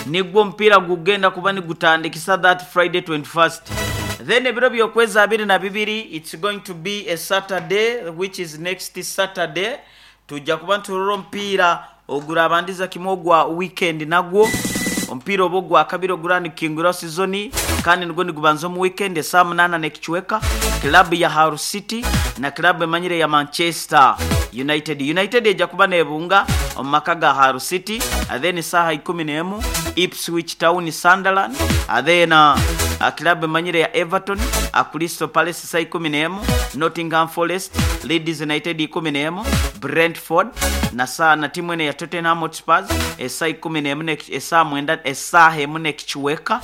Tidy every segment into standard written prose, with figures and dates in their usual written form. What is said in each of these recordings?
Nigwo omupiira gugenda kuba nigutandikisa that Friday 21st. Then ebiro by'okwezi 22, it's going to be a Saturday, which is next Saturday, tujja kuba niturora omupiira ogurabandiza kimwe ogwa weekend nagwo. Omupiira oba ogwakabiri oguraba nigukinguraho sizoni kandi nigwo nigubanza omu weekend esaaha munaana n'ekicweka, club ya Hull City na club emanyire eya Manchester United. United eija kuba nebunga omu maka ga Hull City then saaha ikumi n'emu Ipswich Town Sunderland then club emanyire eya Everton Crystal Palace saa ikumi n'emu Nottingham Forest Leeds United ikumi n'emu Brentford na saa na tiimu eno eya Tottenham Hotspurs esaa ikumi n'emu n'eki esaa mwenda esaaha emu n'ekicweka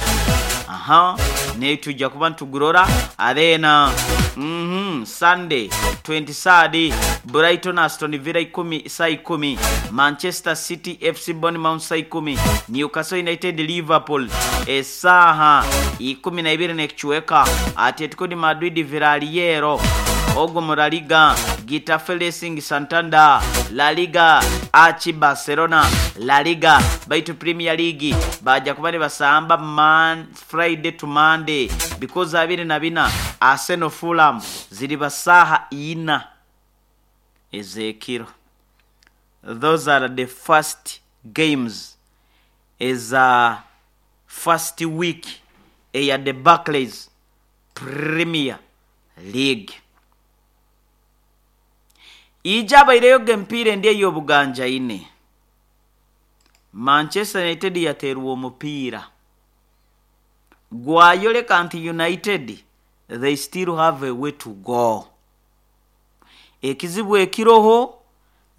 aha n'etwija kuba nitugurora then uhmm Sunday 23rd Brighton Aston Villa ikumi saa ikumi Manchester City FC Bournemouth saa ikumi Newcastle United Liverpool esaaha ikumi na ibiri n'ekicweka Atletico de Madrid Villarreal ogwo mu La Liga Getafe Racing Santander, La Liga, AC Barcelona, La Liga, baitu Premier League baaja kuba nibasamba Man Friday to Monday because 24 Arsenal Fulham ziriba saaha ina ez'ekiro. Those are the first games eza first week eya the Barclays Premier League. Ija abaireyo g'emipiira endi ey'obuganjaine, Manchester United yateerwa omupiira gwayoleka nti United they still have a way to go. Ekizibu ekiroho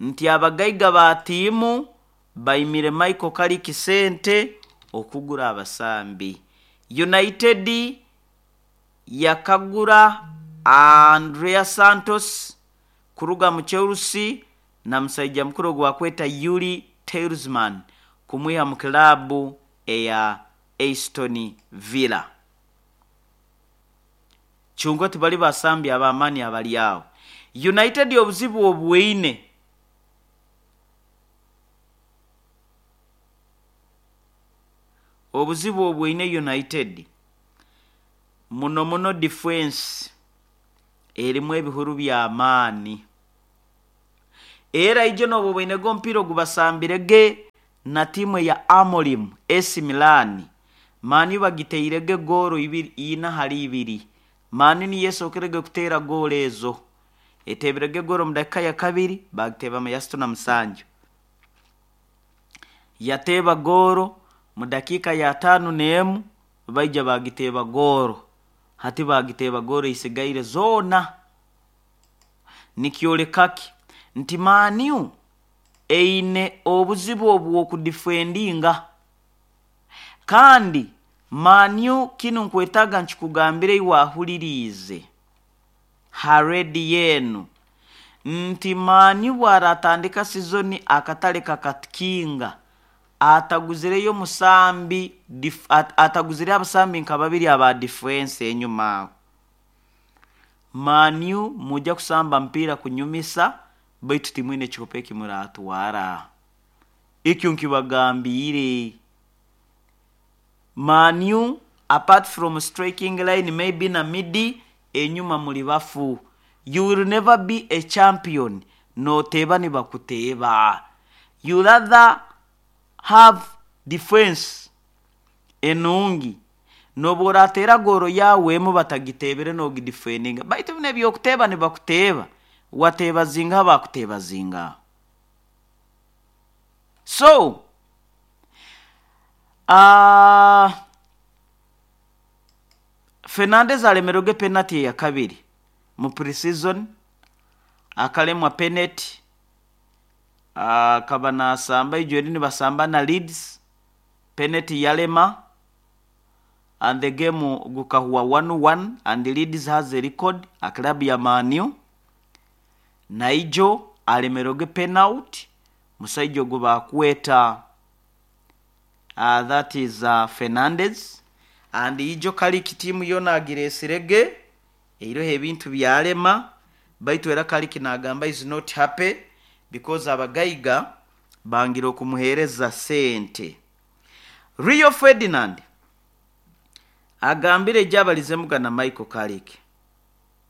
nti abagaiga ba tiimu baimire Michael Carrick sente okugura abasambi. United yakagura Andrea Santos kuruga mu Chelsea na musaija mukuru ogu bakweta Youri Tielemans kumwiha mu kilaabu eya Aston Villa. Kyonka tibali basambi ab'amaani abali agho. United obuzibu obweine obuzibu obweine United muno muno difensi erimu ebihuru by'amaani. Era ijo n'oba oboinege omupiira ogubasambire ge na tiimu eya Amorim, AC Milan, Man U bagiteire ge goolo ibiri ina hali ibiri. Man U niyo esookere ge kuteera goolo ezo. Eteebire ge goolo mu dakika ya kabiri, baagiteeba mu ya asatu na musanju. Yateeba goolo mu dakiika ya ataano n'emu, baija baagiteeba goolo. Hati baagiteeba goolo eisigaire zoona. Nikyoleka ki? Nti Man U eine obuzibu obw'okudifendinga. Kandi Man U kinu nkwetaaga nkikugambire iwe ahuliriize ha rediyo enu nti Man U bw'aratandika sizoni akatale kakatukinga ataguzireyo musambi ataguzireyo abasambi nka babiri aba difensi enyuma aho. Man U mwija kusamba mupiira kunyumisa baitu timwine kikopo eki muratwara. Ekyo nkibagambiire. Man U apart from striking line maybe na midi enyuma muli bafu. You will never be a champion noteeba nibakuteeba. You rather have defense enungi n'obu orateera goolo yaawe emu batagiteebere n'ogidifendinga. Baitu binu eby'okuteeba nibakuteeba, wateeba zingaha baakuteeba zingaha. So, uh, Fernandes alemerwege penati eyakabiri mu pre-season, akalemwa peneti, akaba nasamba ijo eri nibasamba na Leeds, peneti yalema and the game gukahwa 1-1 and Leeds has a record a club ya Man U. Naijo alemerwege penalty musaija ogu bakweta that is Fernandes and ijo Carrick tiimu yoona agireesirege eiroho ebintu byalema baitu era Carrick nagamba is not happy because abagaiga bangire okumuheereza sente. Rio Ferdinand agambire ejabalizemuga na Michael Carrick.